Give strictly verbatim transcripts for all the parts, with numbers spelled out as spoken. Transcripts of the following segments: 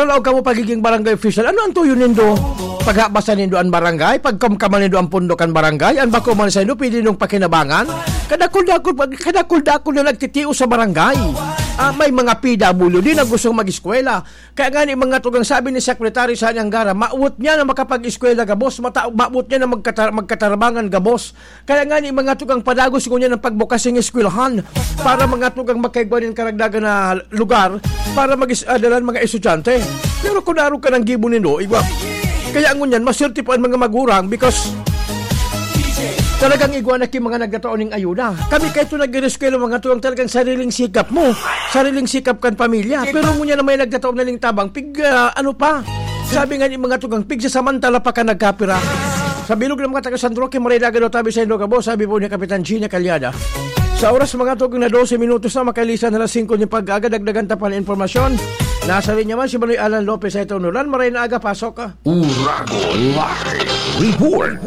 Laog kamo pagiging barangay official. Ano ang tuyo nindo? Paghabasa nindo ang barangay? Pagkamkaman nindo ang pondo kan barangay? Ang bako man sa indo, pwede nindong pakinabangan? Kadakul-dakul, kadakul-dakul na nagtitios sa barangay. Ah, may mga P W D na gustong mag-eskwela. Kaya nga ni mga tugang, sabi ni Secretary Sani Angara, mawot niya na makapag-eskwela gabos, mata-, mawot niya na magkata-, magkatarabangan gabos. Kaya nga ni mga tugang, padagos ngunyan ang pagbukas ng eskwelahan para mga tugang makaigwa nin karagdagan na lugar para mag-, ah, dalan mga estudyante. Pero kung naroon ka ng gibo nindo, igwa. Kaya ngunyan, maswerte po ang mga magurang because talagang igwa na ki mga nagtatao ning ayuda. Kami kahit ito nag-eskwela mga tugang, talagang sariling sikap mo, sariling sikap kan pamilya. Pero ngunyan na may nagtatao na ning tabang, pig, ah, ano pa? Sabi nga ni mga tugang, pigsasamantala pa ka nagkapira. Sa bilog ng mga taga San Roque, maray na agad o tabi sa Indoor Gabo, sabi po ni Kapitan Gina Calyada. Sa oras mga tugang na dose minutos na, makalisan na alas singko ni pag-aga, dagdagan ta pa ng impormasyon. Nasa linya man si Manoy Alan Lopez sa itong Nulan. Maray na aga, pasok ka. Uragon Live Report.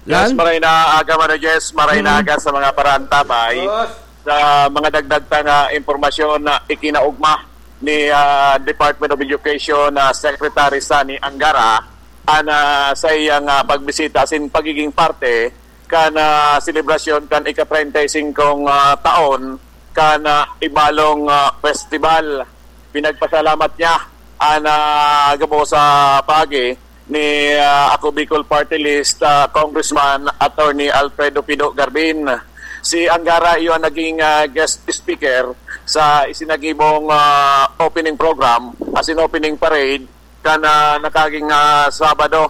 Yes, Lan? Maray na aga, Manoy Jess. Maray na Mm. aga sa mga parantabay. Boss. Sa mga dagdag ta nga impormasyon na ikinaugma ni, ah, Department of Education, ah, Secretary Sani Angara, an, ah, sa iyang, ah, pagbisita asin pagiging parte kan, ah, selebrasyon kan ika-treinta y cinco, ah, taon kan, ah, Ibalong, ah, Festival. Pinagpasalamat niya an, ah, gabos sa paagi ni, ah, Ako Bicol Party List, ah, Congressman Attorney Alfredo Pido Garbin. Si Angara iyo ang naging, ah, guest speaker sa isinagibong, ah, opening program, as in opening parade, kan, ah, nakaging, ah, Sabado,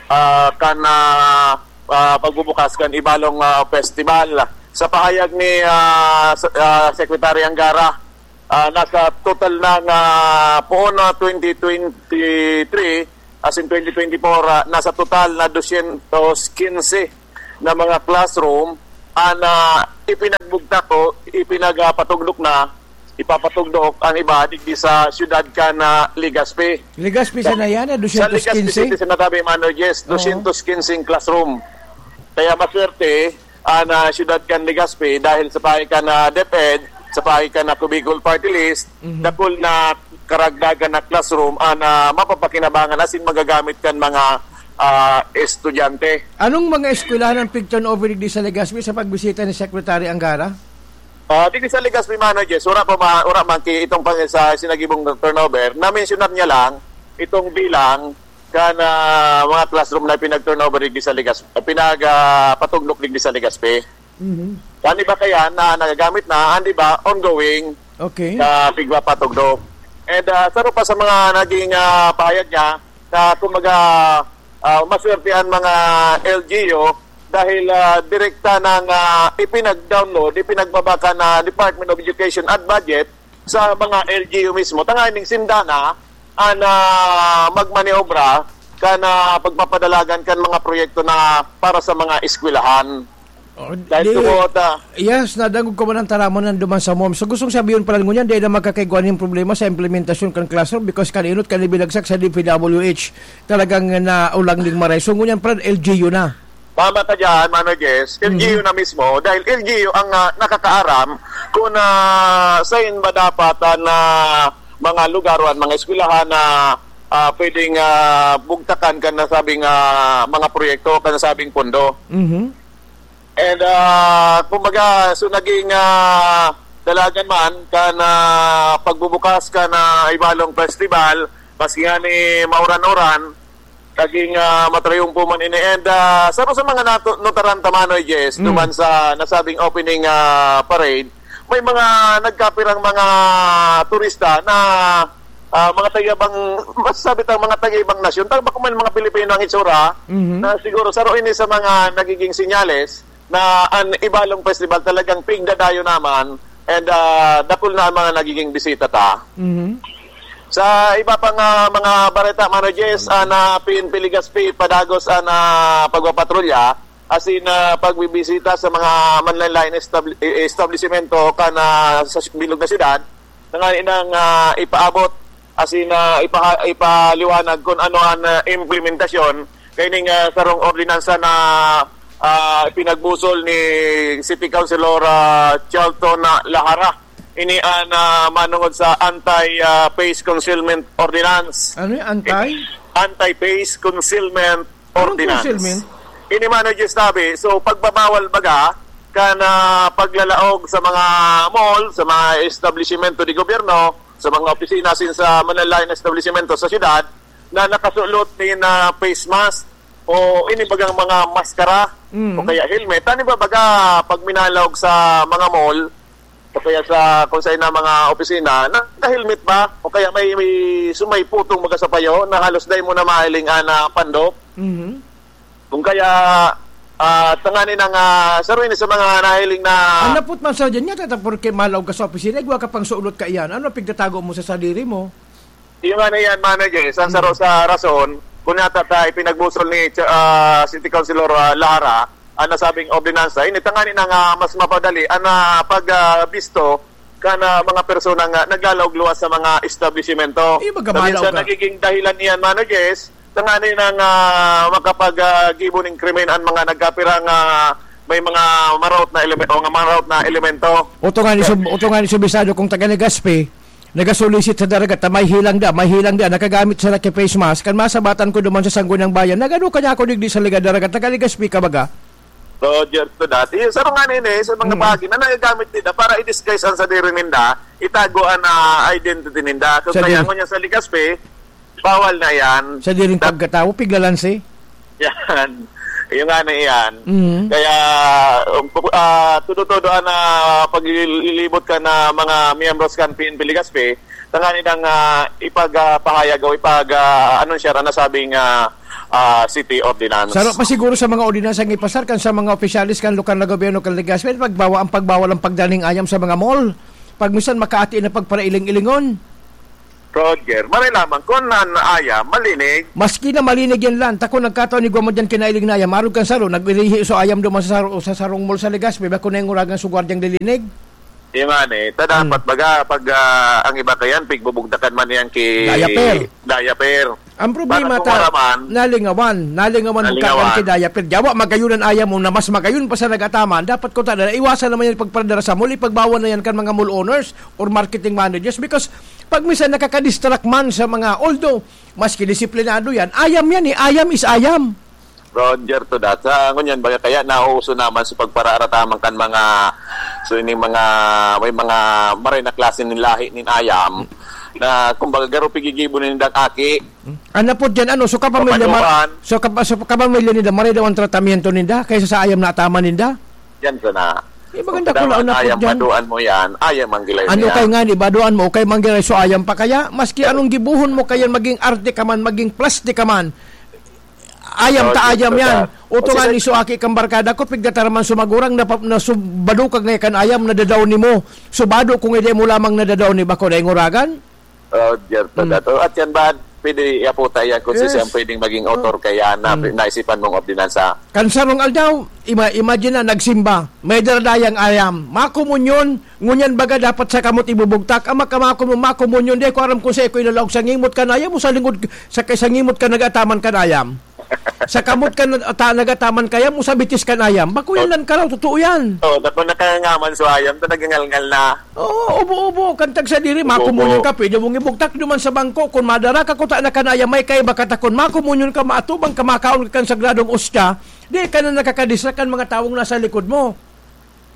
ah, kan, ah, ah, pagbubukas kan Ibalong, ah, Festival. Sa pahayag ni, ah, sa, ah, Secretary Angara, ah, nasa total na nga poon na twenty twenty-three, as in twenty twenty-four, ah, nasa total na dosyentos kinse na mga classroom an, ah, ipinagbugtak o ipinagpatugdok na, ipapatugdok ang iba digdi sa siyudad kan, ah, Legazpi. Legazpi sana yan, eh, Sa Legazpi dosyentos kinse? City, sinasabi, Mano, yes, Oo. dosyentos kinseng classroom. Kaya maswerte, an, ah, siyudad kan Legazpi dahil sa paagi kan, ah, DepEd, sa paagi kan, ah, Ako Bicol Party List, Mhm. dakul na karagdagan na classroom an, ah, mapapakinabangan asin magagamit kan mga, ah, estudyante. Anong mga eskwelahan ang pig-turnover digdi sa Legazpi sa pagbisita ni Secretary Angara? Ah, digdi sa Legazpi, Mano Jess, wala pa ma-, wala man ki itong pang-, sa sinagibong turnover. Na-mentionan niya lang itong bilang kan, ah, mga classroom na pinag-turnover digdi sa Legazpi, pinag, ah, patugdok digdi sa Legazpi. Mhm. An iba kaya na nagagamit na, an iba ongoing Okay. na pigpapatugdok. And, ah, saro pa sa mga naging, ah, pahayag niya na, kumbaga, ah, maswerte an mga L G U dahil, ah, direkta nang, ah, ipinag-download, ipinagbaba kan, ah, Department of Education an budget sa mga L G U mismo. Tanganing sinda na an, ah, magmaniobra kan, ah, pagpapadalagan kan mga proyekto na para sa mga eskwelahan. Oh, Dahil di, tungod, ah, yes, nadangog ko man ang taraman na duman sa mom. So, gustong sabihin pala ngunyan, di na magkakaigwa nin problema sa implementasyon kan classroom because kan inot, kan ibinagsak sa D P W H, talagang naulang ning maray. So, ngunyan pala, L G U na. Tama ka dyan, Mano Jess. Mhm. L G U na mismo, dahil L G U ang, ah, nakakaaram kung, ah, sain ba dapat an, ah, mga lugar o an mga eskwelahan na, ah, pwedeng, ah, bugtakan kan nasabing, ah, mga proyekto, kan nasabing pondo. Mhm. And, ah, kumbaga, so naging, ah, dalagan man kan, ah, pagbubukas kan, ah, Ibalong Festival, maski nga ni mauran-uran, naging, ah, matrayumpo man ini. And, ah, saro sa mga natu-, notaran ta, Manoy Jess, Mm. duman sa nasabing opening, ah, parade, may mga nagkapirang mga turista na, ah, mga taga-ibang, masasabi tang mga taga-ibang nasyon, tang bako man mga Pilipino ang itsura, Mhm. na siguro saro ini sa mga nagiging senyales na an Ibalong Festival talagang pigdadayo naman and, ah, dakul na ang mga nagiging bisita ta. Mhm. Sa iba pang, ah, mga bareta, Mano Jess, ah, na P N P Legazpi, padagos an, ah, pagpapatrolya, asin, ah, pagbibisita sa mga manlaen-laen establi-, eh, establisimento kan, ah, sa bilog na syudad, na nga nang, ah, ipaabot, asin, ah, ipaha-, ipaliwanag kung ano an, ah, implementasyon kaining, ah, sarong ordinansa na, ah, pinagbusol ni City Councilor, ah, Charlton, ah, Lahara. Ini an, ah, manungod sa anti, ah, face concealment ordinance. Ano yung anti? Anti-face concealment Anong ordinance. Concealment? Ini man ang ginasabi. So, pagbabawal baga kan, ah, paglalaog sa mga mall, sa mga establishmento de gobyerno, sa mga opisina, asin sa manlaen-laen na establishmento sa syudad na nakasulot nin, ah, face mask o ini bagang mga maskara Mm. o kaya helmet. Tani ba baga pag minalaog sa mga mall, o kaya sa kung saan na mga opisina, naka-helmet ba? O kaya may, may, so may putong baga sa payo na halos dai mo na mahiling an, ah, pandok? Mhm. Kung kaya, ah, tanganing, ah, saro ini sa mga nahiling na Ang napot man sa dyan, nga tata, porke malaog ka sa opisina, igwa ka pang sulot ka iyan. Ano pigtatago mo sa sadiri mo? Iyo nga na yan, Mano Jay, sa, sa, Hmm. sa rason, kung yata ta ipinagbusol ni Ch-, ah, City Councilor, ah, Lara, ang nasabing ordinansa, ini tanganing, ah, mas mapadali ang, ah, pag, ah, bisto kan, ah, mga personang, ah, naglalaog luwas sa mga establishmento. Iyo, baga Na minsan malaog ka. nagiging dahilan niyan, Mano Jess, tanganing, ah, makapag, ah, gibo ning krimen ang mga nagkapirang, ah, may mga maraot na elemen-, o nga maraot na elemento. Oto nga ni sub-, oto nga ni subisado kung taga Legazpi, nagasulisit sa dagat, ta may hilang da, may hilang da, nakagamit sa laki face mask, kan masabatan ko duman sa Sangguniang Bayan, nagano kanya ako digdi sa Liga Dagat, taga Legazpi ka baga? Roger to that. Yung sa mga nini, sa mga Hmm. bagay na nagagamit nila para i-disguise ang sadiri ninda, itago ang, ah, identity ninda. So, Sa kaya din- ngunyan sa Legazpi, bawal na yan. Sa diring Da- pagkatawo, piglalansi? Yan. Yung nga na yan. Mhm. Kaya, um, pu-, ah, todo-todo ang, ah, paglilibot ka na mga miyembros kan P N P Legazpi, tanganing, ah, ipagpahayag o ipag, ah, anunsiyar ang nasabing, ah, ah, city ordinance. Saro pa siguro sa mga ordinansa nga ipasar kan sa mga opisyalis kan lokal na gobyerno kan Legazpi, pagbawa-, ang pagbawal ang pagdaning ayam sa mga mall. Pag minsan makaati na pagparailing-ilingon. Roger, maray lamang kung nan ayam, malinig. Maski na malinig yan lang, ta kung nagkataon igwa mo dyan kinailing na ayam, arog kan saro, nagirihi so ayam duman sa saro, sa sarong mall sa Legazpi, bako na yung uragan so gwardyang lilinig. Yung nga ni, ta dapat Hmm. baga, pag, ah, ang iba kayan, pigbubugtakan man yan ki Diaper. Diaper. Ang problema Para ta, kumaraman. nalingawan, nalingawan mo Nalingawan. kakan ki diaper. Yawa, magayon ang ayam mo na mas magayon pa sa nagataman. Dapat ko ta, iwasan naman yan pagparadara sa mall, ipagbawal na yan kan mga mall owners or marketing managers because pag minsan nakakadistract man sa mga, although, maski disiplinado yan, ayam yan eh, ayam is ayam. Roger to that. Sa ngunyan, baga kaya nauuso naman sa pagparaarataman kan mga, so, ini mga, may mga maray na klase nin lahi nin ayam na, kumbaga, garo pigigibo nindang aki. Ang napod dyan, ano, so kapamilya, mar-, Papanuan. so kap-, so kapamilya ninda, maray daw ang tratamiento ninda kaysa sa ayam na ataman ninda? Yan sana. Eh, maganda Kung ko lang ang daw napod ayam, dyan. paduan mo yan, ayam ang gilay Ano niya. kay nga ni, baduan mo, kay manggilay so ayam pa kaya? Maski anong gibuhon mo, kaya maging arte ka man, maging plastic ka man, ayam Oh, ta ayam gusto yan. ka. Uto O, nga sila ni so aki kang barkada ko, pigdataram man sumagurang na, na subado ka nga kan ayam, nadadaw ni mo. Subado kung hindi mo lamang nadadaw ni bako na inguragan. Oh, Jerto Hmm. Dato. At yan ba, pwede iaputa yan kung Yes. sisiyang pwedeng maging author Oh. kaya na Hmm. naisipan mong ordinansa? Kan sarong aldaw, ima-, imagine na, nagsimba. May daradayang ayam. Makomunyon, ngunyan baga dapat sa kamot ibubugtak. Ang makamakon mo, makomunyon, di ko aram kung sa iko ilalaog sa ngimot kan ayam o sa lingod, sa, sa ngimot ka nagataman kan ayam. Sa kamot ka na-, ta-, nagataman kaya mo sa bitis kan ayam. Bako yan Oh. lang karaw, totoo yan. Oh, tapos nakangangaman so ayam, ta nagangalngal na. Oo, ubo-ubo, kan tagsadiri, Ubo-ubo. makomunyon ka, pwede mong ibugtak duman sa bangko. Kung madara ka kuta na kanaya, may kaiba ka takon, makomunyon ka, maatubang ka, makaon ka kan sagradong ostya, di ka na nakakadisrak kan mga tawong nasa likod mo.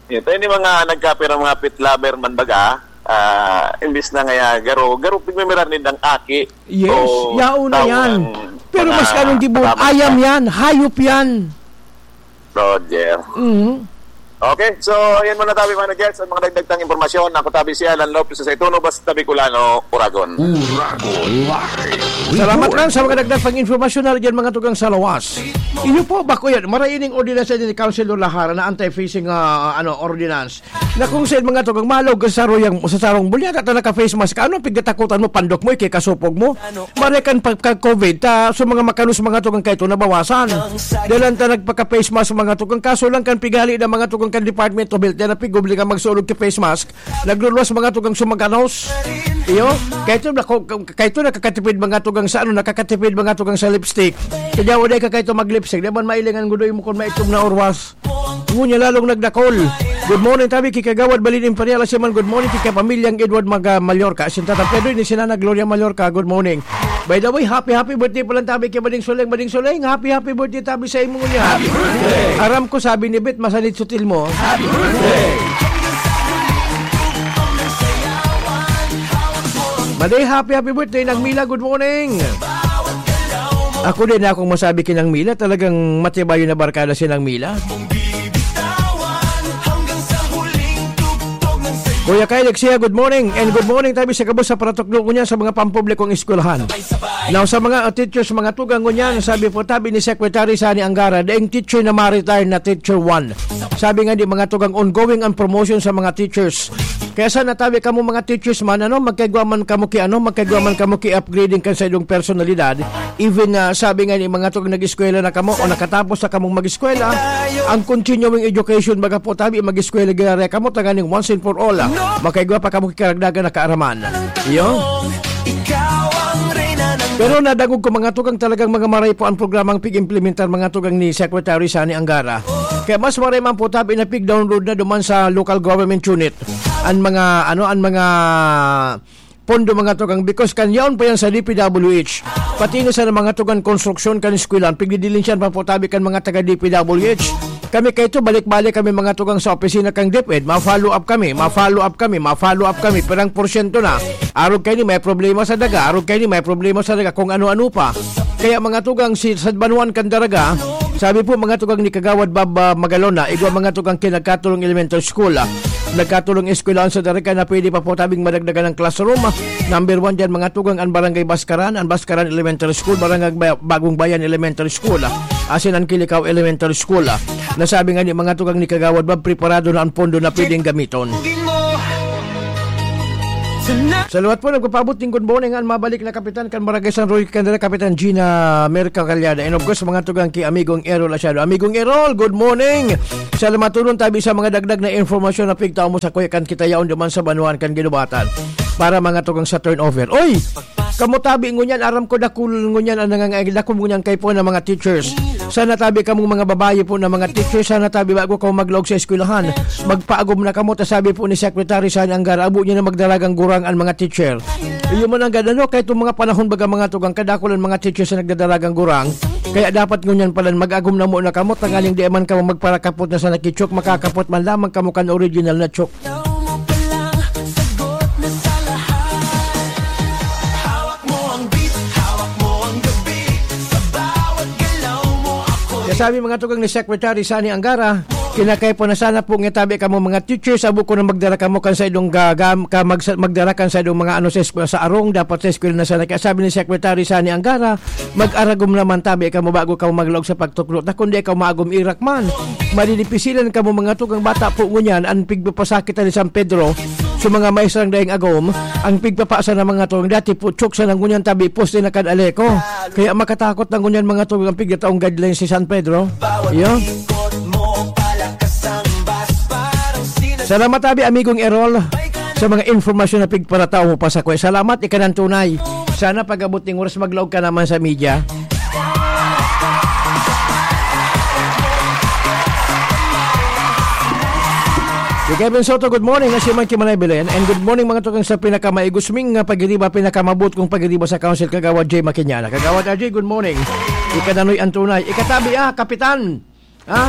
Ito, ini mga nagkapirang mga pet lover man baga, ah, imbis na ngaya garo, garo pigmimiran nindang aki. Yes, O yaon na tawong yan. Pero mga mas kanong gibo, tama ayam na. yan, hayop yan. Roger. Mhm. Okay, so yan muna tabi, mga guests, ang mga dagdag tang impormasyon. Ako tabi si Alan Lopez sa Ituno, basta Bicolano, Uragon. Uragon Live. Salamat lang sa mga dagdag pang impormasyon na dyan, mga tugang sa lawas. Iyo po, bako yan. Maraining ordinansa din ni Councilor Lahara na anti-fishing, ah, ano, ordinance. Na kung saan mga tugang malaog sa saruyang, sa sarong bulya, ta naka-face mask ka, ano, pigatakutan mo, pandok mo, ikikasupog mo. Maray kan pagka-covid, ta, so mga makanos, mga tugang kaito, nabawasan. Dalan ta nagpaka-face mask, mga tugang, kaso lang kan pighali na mga tugang kan Department of Health, na pigobli ka magsulog ka face mask, nagluluwas mga tugang sumaganos. Iyo, kaito, nako-, kaito nakakatipid mga tugang sa ano, nakakatipid mga tugang sa lipstick. Kaya wala ka kaito mag-lipstick. Di man mailingan gudoy mo kung maitom na orwas. Ngunyan lalong nagdakol. Good morning, tabi ki Kagawad Balin Imperial. Asin man, good morning ki Kapamilyang Edward Maga-, Mallorca. Asin Tata Pedro, ni Sinana Gloria Mallorca. Good morning. By the way, happy, happy birthday pala tabi ki Bading Suleng, Bading Suleng. Happy, happy birthday tabi sa imo niya. Happy birthday! Aram ko, sabi ni Bet, masanit sutil mo. Happy birthday! Maday, happy, happy birthday, Nang Mila. Good morning. Ako din, akong masabi ki Nang Mila, talagang matibay na barkada si Nang Mila. Kuya Kyle Exia, good morning. And good morning tabi sa gabos sa paratukdo ko niya sa mga pampublikong eskwelahan. Now, sa mga, uh, teachers, mga tugang ngunyan, sabi po, tabi ni Secretary Sani Angara, daing teacher na ma-retire na teacher one. Sabi nga di mga tugang, ongoing ang promotion sa mga teachers. Kaya sana tabi kamo mga teachers man, ano, magkaigwa man kamo ki, ano, magkaigwa man kamo ki upgrading kan sa idong personalidad. Even, ah, sabi nga ni mga tugang nag-eskwela na kamo o nakatapos na kamong mag-eskwela, ang continuing education, baga po tabi, mag-eskwela gaya kamo, tanganing once and for all, ah, makaigwa pa kamo ki karagdagan na kaaraman. Iyo. Pero nadangog ko mga tugang talagang mga maray po ang programang pig-implementar mga tugang ni Secretary Sani Angara. Kaya mas maray man po tabi na pig-download na duman sa local government unit. Ang mga, ano, ang mga pondo mga tugang because kan yaon pa yan sa D P W H. Pati na sa mga tugang konstruksyon kan eskwelahan, pigdidilinsyan pa po tabi kan mga taga D P W H. Kami kaito, balik-balik kami mga tugang sa opisina kan DepEd. Ma-follow up kami, ma-follow up kami, ma-follow up kami. Pirang porsyento na? Arog kaini may problema sa daga, arog kaini may problema sa daga, kung ano-ano pa. Kaya mga tugang si sa banwaan kan Daraga, sabi po mga tugang ni Kagawad Bob, ah, Magalona, igwa mga tugang ki Nagkatulong Elementary School, ah. Nagkatulong eskwelahan sa Daraga na pwede pa po tabing madagdagan ng classroom. Number one diyan mga tugang ang Barangay Baskaran, ang Baskaran Elementary School, Barangay Ba-, Bagong Bayan Elementary School, ah. Asin ang Kilikao Elementary School, ah. Nasabi nga ni mga tugang ni Kagawad Bob, preparado na ang pondo na pwedeng gamiton. Salamat po, nagpapaabot ning good morning an mabalik na kapitan kan Barangay San Roque Candela, Kapitan Gina Merca Calyada. And of course, mga tugang ki Amigong Errol Asiado. Amigong Errol, good morning. Salamat turon tabi sa mga dagdag na informasyon na pigtao mo sa kuya kan kita yaon duman sa banwaan kan Ginubatan. Para mga tugang sa turnover. Oy! Kamo tabi ngunyan, aram ko dakul ngunyan ang nangangailangan, dakul ngunyan kaipuhan ng mga teachers. Sana tabi kamong mga babayi po na mga teachers, sana tabi bago kamo maglaog sa eskwelahan. Magpaagom na kamo, ta sabi po ni Secretary Sani Angara, abo niya na magdaragang gurang ang mga teacher. Iyo man ang gad-, ano, kahit itong mga panahon baga mga tugang, kadakul ang mga teachers na nagdadaragang gurang. Kaya dapat ngunyan pala mag-agom na muna kamo, tanganing di man kamo magparakapot na sa nakichok, makakapot man lamang kamo kan original na chok. Ikaw mo pa lang, sagot na sa lahat. Hawak mo ang beat, hawak mo ang gabi. Sa bawat galaw mo ako. Kaya sabi mga tugang ni Secretary Sani Angara, kinakaipo na sana po nga tabi kamo mga teachers, abo ko na magdara kamo kan sa idong gagam, ka magsa-, magdara kan sa idong mga ano sa eskwela, sa arong, dapat sa eskwela na sana. Kaya sabi ni Secretary Sani Angara, mag-aragom naman tabi kamo bago kamo maglaog sa pagtukdo. Ta kun di kamo maagom, irak man. Madidipisilan kamo mga tugang bata po ngunyan, ang pigpapasakit ni San Pedro. Sa mga maestra ang daing agom, ang pigpapasa ng mga tugang dati po, chok sa ngunyan tabi, poste na kan Aleco. Kaya makatakot na ngunyan mga tugang pigtataong guidelines si San Pedro. Iyo. Ikot mo, palakas ang bas, parang sinas- Salamat tabi, amigong Errol, sa mga informasyon na pigparatao mo pa sa kuya. Salamat, ika ng tunay. Sana pag-abot ning oras, maglaog ka naman sa media. Si Kevin Soto, good morning. Nasiman ki Manay Belen. And good morning, mga tugang sa pinakamaigusming nga pagiriba, pinakamabot kong pagiriba sa Council, Kagawad Jay Makinyana. Kagawad R J, good morning. Ika na noy ang tunay. Ikatabi, ah, Kapitan. Ha?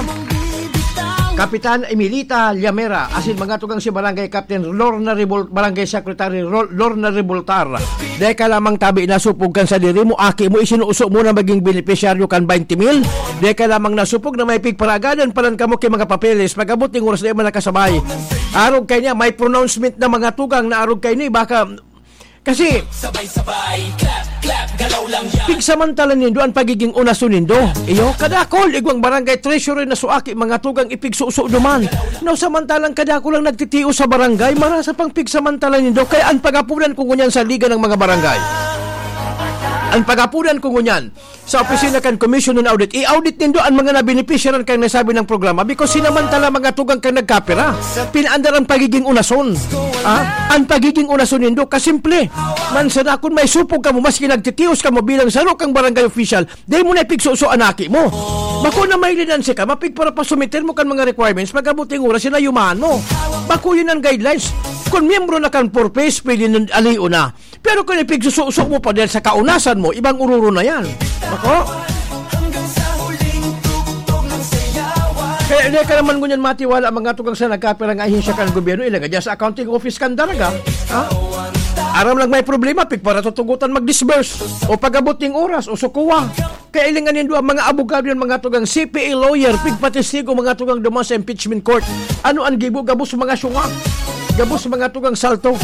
Kapitan Emilita Llamera, asin mga tugang si Barangay Captain Lorna Revol-, Barangay Secretary Rol-, Lorna Revoltar. Deka lamang tabi nasupog kan sadiri mo, aki mo, isinuso mo na maging benepisyaryo kan twenty mil. Deka lamang nasupog na may pigparagadan palan kamo ki mga papeles. Pag-abot ning oras, di man nakasabay. Arog kay niya, may pronouncement na mga tugang na arog kay ni, baka Kasi, Sabay-sabay, clap, clap, galaw lang yan. Pigsamantala nindo an pagiging unaso nindo. Iyo, kadakol, igwang barangay treasurer na suaki, mga tugang ipigsuso duman. No, samantalang kadakol ang nagtitios sa barangay, marasa pang pigsamantala nindo. Kaya an pagapunan ko ngunyan sa Liga ng mga Barangay. Ang pagapunan ko ngunyan, sa opisina kan Commission on Audit, i-audit nindo ang mga nabenepisyaran kan nasabi ng programa because sinamantala mga tugang kan nagkapira. Pinaandar ang pagiging unason. Ah, ang pagiging unason nindo, kasimple. Man sana kun may supog kamo, maski nagtitios kamo bilang saro kang barangay official, dai mo na ipigsuso an aki mo. Bako na may linanse ka, mapigparapasumiter mo kan mga requirements, pag-abot ning oras, sinayumahan mo. Bako yun ang guidelines. Kung miyembro na kan Four Ps, pwede nun aliyo na. Pero kung ipigsususo mo pa dahil sa kaunasan mo, ibang ururo na yan. Ako? Kaya hindi ka naman ngunyan matiwala mga tugang sa nagkapirang ahensya kan gobyerno, ilagay dyan sa accounting office kan daraga. Ha? Aram lang may problema, pigparatutugutan mag-disburse. O pag-abot ning oras, o sukuwa. Kailingan nindo ang mga abogado yan, mga tugang C P A lawyer, pigpatestigo, mga tugang duman sa impeachment court. Ano ang gibo? Gabos mga syunga. Gabos mga tugang salto.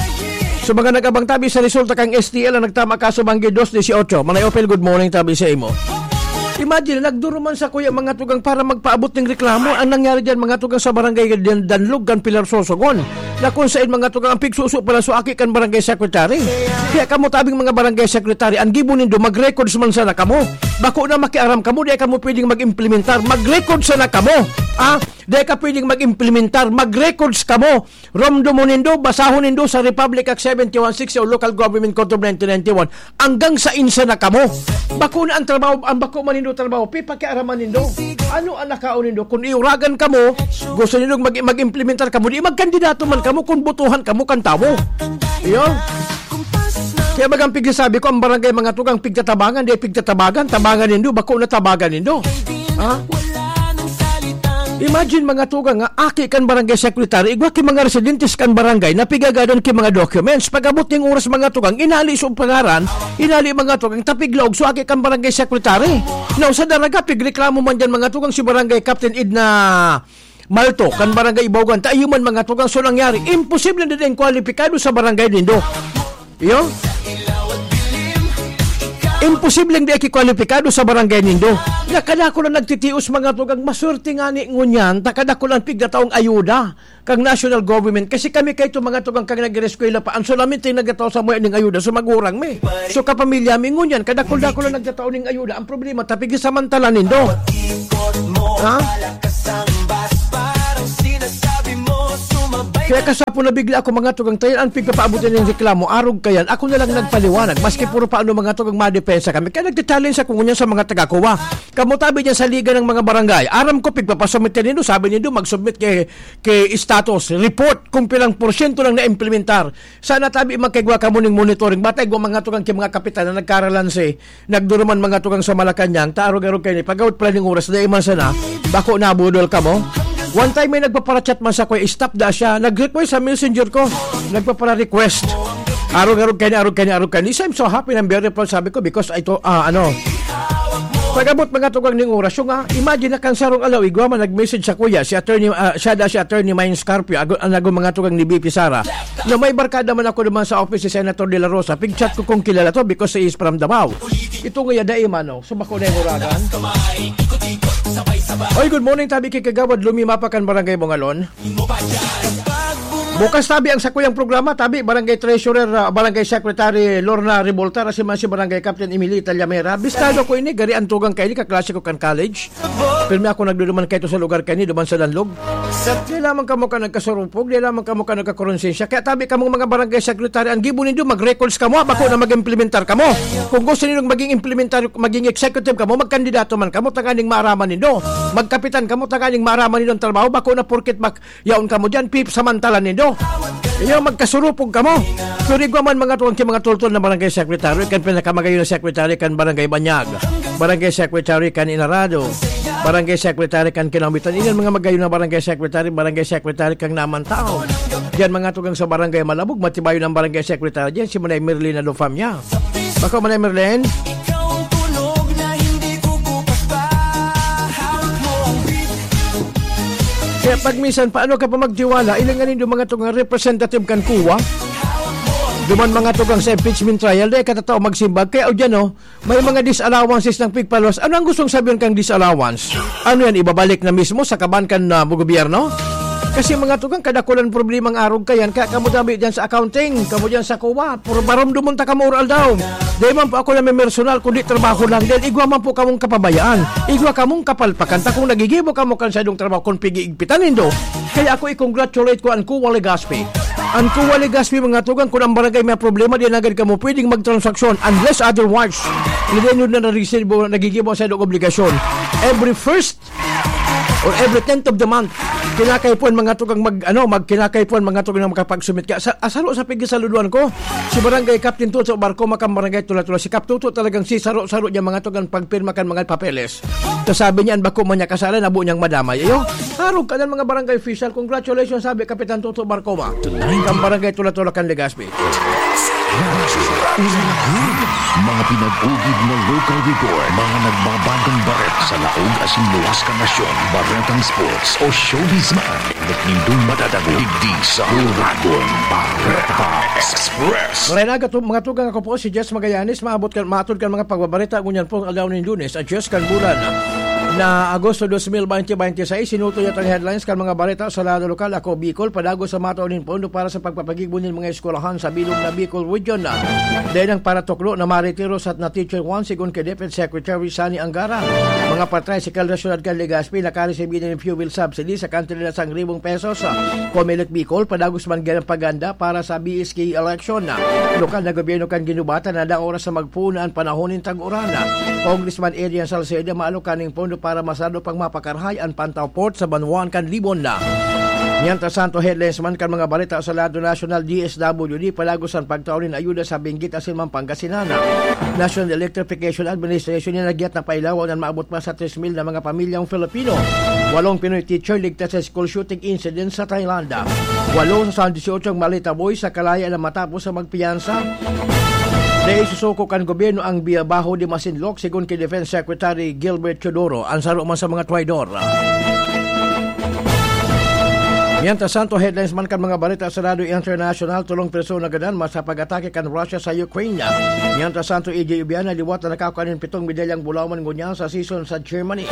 So, mga nag-abang tabi sa resulta kang S T L ang nagtama kaso banggi dos dieciocho. Manay Opel, good morning, tabi sa imo. Imagine, nagduruman sa kuya mga tugang para magpaabot ng reklamo. Ang nangyari dyan, mga tugang sa barangay Dan- Danlog, kan Pilar Sorsogon. Na kung sain mga tugang ang pigsuso pala sa aki kan barangay secretary. Kaya kamo tabing mga barangay secretary, ang gibo nindo, mag-records man sana kamo. Bako na makiaram kamo, di kamo pwedeng mag-implementar. Mag-record sana kamo. Ah, di ka pwedeng mag-implementar. Mag-records kamo. Romdo mo nindo, basahon nindo sa Republic Act seventy-one sixty o Local Government Code of nineteen ninety-one. Hanggang sa insa na kamo. Bako na ang trabaho, ang bako man nindo trabaho, pipakiaraman nindo. Ano ang nakaon nindo? Kung iuragan kamo, gusto nindo mag-, mag-implementar kamo, di magkandidato man kamo kung botohan kamo kan tawo. Iyo. Kaya bagang pigsasabi ko, ang barangay mga tugang pigtatabangan, di pigtatabagan, tabangan nindo, bako na tabagan nindo. Ha? Imagine mga tugang nga, aki kan barangay secretary, igwa ki mga residentes kan barangay na pigagadan ki mga documents. Pag-abot ning oras mga tugang, inali sa pangaran, inali mga tugang, tapiglaog sa aki kan barangay secretary. Now, sa daraga, pigreklamo man dyan mga tugang si barangay Captain Edna Malto, kan barangay Ibaugan, ta iyo man mga tugang, so nangyari, imposible na din kwalipikado sa barangay nindo. Iyo? Imposibleng di aki kwalipikado sa barangay nindo. Nakadako na nagtitios mga tugang, maswerte nga ni ngunyan, takadako lang pigdataong ayuda kang national government. Kasi kami kaito mga tugang kang nag-eskwela pa, ang solamente nagataw sa mga ning ayuda sa magurang mi. So kapamilya mi ngunyan, kadakol-dakol lang nagtataw ning ayuda. Ang problema, tapig samantala nindo. Ha? Kaya kasapo na bigla ako mga tugang tayan, ang pigpapaabutan ng reklamo, arog kayan, ako na lang nagpaliwanag, maski puro paano mga tugang madepensa kami. Kaya nagcha-challenge ako ngunyan sa mga taga-Coa. Kamo tabi dyan sa Liga ng mga Barangay. Aram ko, pigpapasubmit ka nindo, sabi nindo, mag-submit kay, kay status report kung pilang porsyento lang na-implementar. Sana tabi magkaigwa kamo ning monitoring. Bata igwa mga tugang kay mga kapitan na nagkaralanse, nagduruman mga tugang sa Malacañang, ta arog-arog kayo ni pagawit pala ning oras, dai man sana, bako nabudol kamo. One time may nagpaparachat man sa kuya, stop da siya. Nag-request sa messenger ko. Nagpapara-request. Arog-arog kayo ni, arog kayo ni, arog kayo ni. So, I'm so happy ng very proud, sabi ko, because ito, ah, ano, pag-abot mga tugang ning oras, yung, ah, imagine na kan sarong alaw, igwa man nag-message sa kuya, si attorney, ah, siya da si attorney Mines Carpio, ago, ang ago mga tugang ni B P Sara, na may barkada man ako naman sa office si Senator De La Rosa, pig-chat ko kung kilala to because he is from Davao. Ito nga yada, eh, mano, so bako na yung uragan. Oy, good morning, tabi kay Kagawad Lumi Mapakan, Barangay Bongalon. Bukas tabi ang sakuyang programa, tabi, Barangay Treasurer, ah, Barangay Secretary Lorna Revolta, asin man si Barangay Captain Emilita Llamera. Bistado ko ini, gari ang tugang kaini, kaklase ko kan college. Pirmi ako nagduduman kaito sa lugar kaini, duman sa Danlog. Di lamang kamo ka nagkasurupog, di lamang kamo ka nagkakuronsensya. Kaya tabi kamong mga barangay secretary, ang gibo nindo, mag-records kamo, bako na mag-implementar kamo. Kung gusto nindo maging implementar, maging executive kamo, magkandidato man kamo, tanganing maaraman nindo. Magkapitan kamo, tanganing maaraman nindo ang trabaho, bako na porket mag-, yaon kamo dyan, pip, samantala nindo. Iyo, magkasurupog kamo. Pero igwa man mga tuwang ki mga tultol na barangay secretary, kan pinakamagayon na secretary, kan Barangay Banyag, Barangay Secretary kan Inarado, Barangay Secretary kan Kinawitan. Iyan mga magayon na Barangay Secretary, Barangay Secretary kan Naman Tao. Diyan mga tugang sa Barangay Malabog, matibayon ang Barangay Secretary diyan, si Manay Merlina Lofamia. Bako, Manay Merlin? Kaya pag minsan, paano ka pa magtiwala? Ilingan nindo mga tugang representative kan kuwa. Duman mga tugang sa impeachment trial, dahil katatao magsimbag. Kaya o dyan, oh, may mga disallowances ng pigpaluwas. Ano ang gustong sabihin kang disallowance? Ano yan? Ibabalik na mismo sa kaban kan, ah, gobyerno? Kasi mga tugang, kadakulan problemang arog kayan. Kaya kamo dabi dyan sa accounting, kamo dyan sa kuwa. Puro baromdomon ta kamo oral daw. Dai man po ako namimersonal, kundi trabaho lang. Dahil igwa man po kamong kapabayaan. Igwa kamong kapalpakan. Ta kung nagigibo kamo kan saindong trabaho, kung pig-iigpitan nindo, kaya ako i-congratulate ko an Kuwa Legazpi. An Kuwa Legazpi, mga tugang, kung ang barangay may problema, di na agad kamo pwedeng magtransaksyon unless otherwise. Hindi nyo na narisibo, nagigibo sa inyong obligasyon. Every first or every tenth of the month, kinakaipuhan, mga tugang, mag, ano, mag, kinakaipuhan, mga tugang, na makapagsumit ka. Sa, asaro sa pigisaluduan ko, si Barangay Captain Toto Barco, makang Barangay Tula-Tula. Si Kap Toto talagang si saro-saro niya, mga tugang, pagpirma kan mga papeles. Tapos sabi niya, "An bako man niya kasala, nabo niyang madamay." Ayo, harog ka na, mga barangay official. Congratulations, sabi Kapitan Toto Barco, ma. Kan Barangay Tula-Tula kan Legazpi. Mga pinag-ugid na local report, mga nagbabagong bareta sa laog asin luwas kan nasyon, baretang sports o showbiz man. Nindong madadago digdi sa Uragon Bareta Express. Maray na, gato-, mga tugang, ako po si Jess Magallanes, maabot kan, matod kan mga pagbabareta, ngunyan pong aldaw nin Lunes, at Jess kan bulan na Agosto dos mil bente bente seis, sinuto niya ang headlines kan mga bareta sa lado lokal. Ako, Bicol, padagos sa mataw nin pondo para sa pagpapagibo nin mga eskwelahan sa bilog na Bicol Region na. Dahil ang paratuklo na maretiro sa na Teacher one, sigon kay DepEd Secretary Sonny Angara. Mga patricycle na syudad kan Legazpi, nakaresibi na nin fuel subsidy sa kantidad na sangribo pesos. Comelec Bicol, padagos man gyan ang paganda para sa B S K election na. Lokal na gobyerno kan Guinobatan na daw oras sa magpuon na an panahon nin tag-uran na. Congressman Adrian Salceda, maalokan nin pondo para masarado pang mapakarhay an Pantaw Port sa banwaan kan Libon na. Mientras tanto, headlines man kan mga bareta sa lado nasyonal, D S W D, padagos an pagtao nin ayuda sa Benguet asin man Pangasinan. National Electrification Administration, nagyat na pailawan an maabot pa sa tres mil na mga pamilyang Filipino. Walong Pinoy teacher ligtas sa school shooting incident sa Thailand. Walo sa sandisiotso ang Malita Boys sa kalaya na matapos sa magpiyansa. Dai susuko kan gobyerno ang Baho de Masinloc, sigon ki Defense Secretary Gilbert Teodoro, an saro man sa mga traidor. Mientras tanto, headlines man kan mga bareta sa Radyo International, tolong persona gadan mas sa pag-atake kan Russia sa Ukraine. Mientras tanto, E J Ubiana liwat na nakakua nin pitong medalyang bulawan ngunyan sa season sa Germany.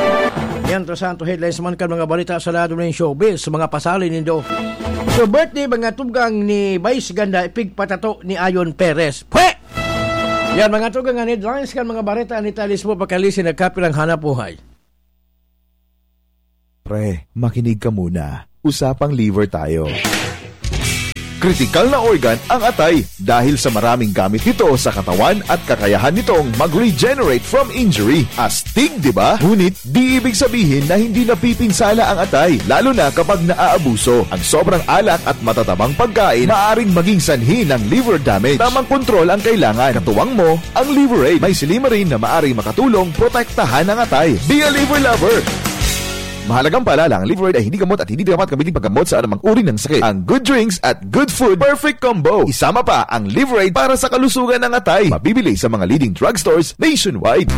Mientras tanto, headlines man kan mga bareta sa lado nin showbiz, mga pasali nindo. So, birthday, mga tugang ni Vice Ganda, ipigpatato ni Ayon Perez. Pwe! Yan, mga tugang, an headlines kan mga bareta ni Talis mo, pakalisin nagkapirang hanap buhay. Pre, makinig ka muna. Usapang liver tayo. Kritikal na organ ang atay dahil sa maraming gamit nito sa katawan at kakayahan nitong mag-regenerate from injury. Astig, di ba? Ngunit di ibig sabihin na hindi napipinsala ang atay, lalo na kapag naaabuso. Ang sobrang alak at matatabang pagkain maaring maging sanhi ng liver damage. Tamang kontrol ang kailangan. Katuwang mo, ang Liver Aid. May silymarin na maaring makatulong protektahan ang atay. Be a liver lover! Mahalagang paalala, ang Liver Aid ay hindi gamot at hindi dapat gamitin paggamot sa anumang uri ng sakit. Ang good drinks at good food, perfect combo. Isama pa ang Liver Aid para sa kalusugan ng atay. Mabibili sa mga leading drugstores nationwide.